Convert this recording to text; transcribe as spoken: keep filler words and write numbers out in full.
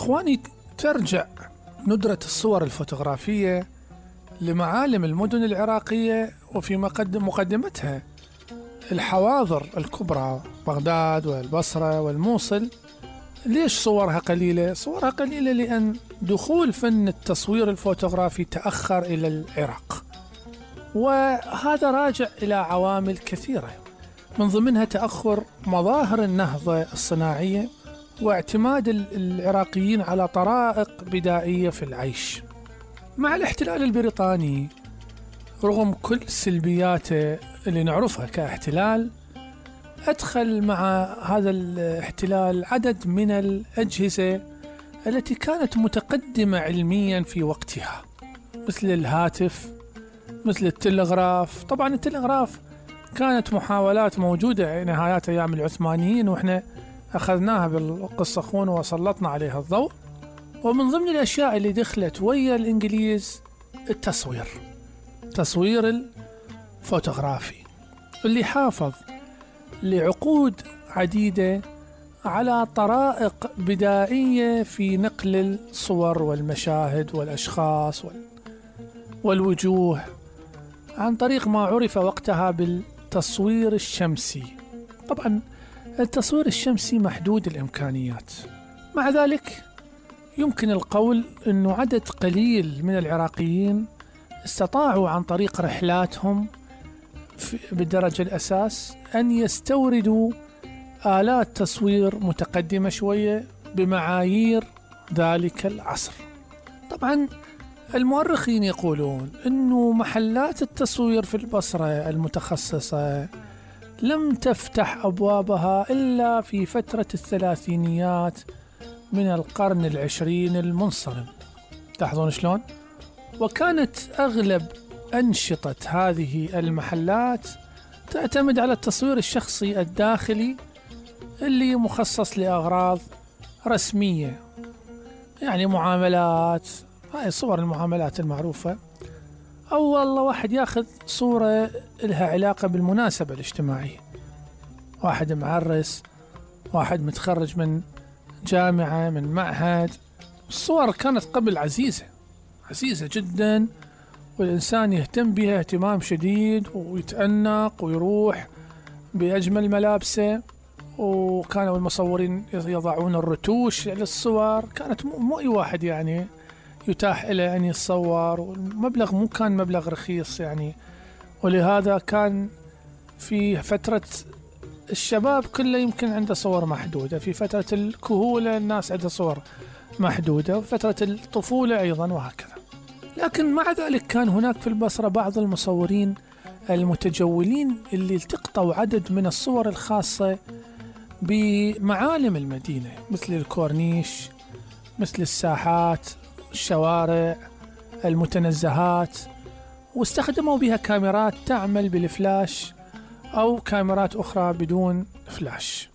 اخواني، ترجع ندرة الصور الفوتوغرافية لمعالم المدن العراقية، وفي مقدمتها الحواضر الكبرى بغداد والبصرة والموصل. ليش صورها قليلة؟ صورها قليلة لأن دخول فن التصوير الفوتوغرافي تأخر إلى العراق، وهذا راجع إلى عوامل كثيرة، من ضمنها تأخر مظاهر النهضة الصناعية واعتماد العراقيين على طرائق بدائية في العيش. مع الاحتلال البريطاني، رغم كل سلبياته اللي نعرفها كاحتلال، أدخل مع هذا الاحتلال عدد من الأجهزة التي كانت متقدمة علميا في وقتها، مثل الهاتف، مثل التلغراف. طبعا التلغراف كانت محاولات موجودة نهايات أيام العثمانيين، وإحنا أخذناها بالقصة أخونا وسلطنا عليها الضوء. ومن ضمن الأشياء اللي دخلت ويا الإنجليز التصوير، تصوير الفوتوغرافي، اللي حافظ لعقود عديدة على طرائق بدائية في نقل الصور والمشاهد والأشخاص والوجوه عن طريق ما عرف وقتها بالتصوير الشمسي. طبعا التصوير الشمسي محدود الإمكانيات، مع ذلك يمكن القول أنه عدد قليل من العراقيين استطاعوا عن طريق رحلاتهم بالدرجة الأساس أن يستوردوا آلات تصوير متقدمة شوية بمعايير ذلك العصر. طبعا المؤرخين يقولون أنه محلات التصوير في البصرة المتخصصة لم تفتح أبوابها إلا في فترة الثلاثينيات من القرن العشرين المنصرم. تلاحظون شلون؟ وكانت أغلب أنشطة هذه المحلات تعتمد على التصوير الشخصي الداخلي اللي مخصص لأغراض رسمية، يعني معاملات، هاي صور المعاملات المعروفة، أو والله واحد ياخذ صورة لها علاقة بالمناسبة الاجتماعية، واحد معرس، واحد متخرج من جامعة، من معهد. الصور كانت قبل عزيزة عزيزة جدا، والإنسان يهتم بها اهتمام شديد ويتأنق ويروح بأجمل ملابسه، وكانوا المصورين يضعون الرتوش للصور. كانت مو أي واحد يعني يتاح له أن يتصور، والمبلغ مو كان مبلغ رخيص يعني، ولهذا كان في فترة الشباب كله يمكن عنده صور محدودة، في فترة الكهولة الناس عندها صور محدودة، وفترة الطفولة أيضا، وهكذا. لكن مع ذلك كان هناك في البصرة بعض المصورين المتجولين اللي التقطوا عدد من الصور الخاصة بمعالم المدينة، مثل الكورنيش، مثل الساحات، الشوارع، المتنزهات، واستخدموا بها كاميرات تعمل بالفلاش أو كاميرات أخرى بدون فلاش.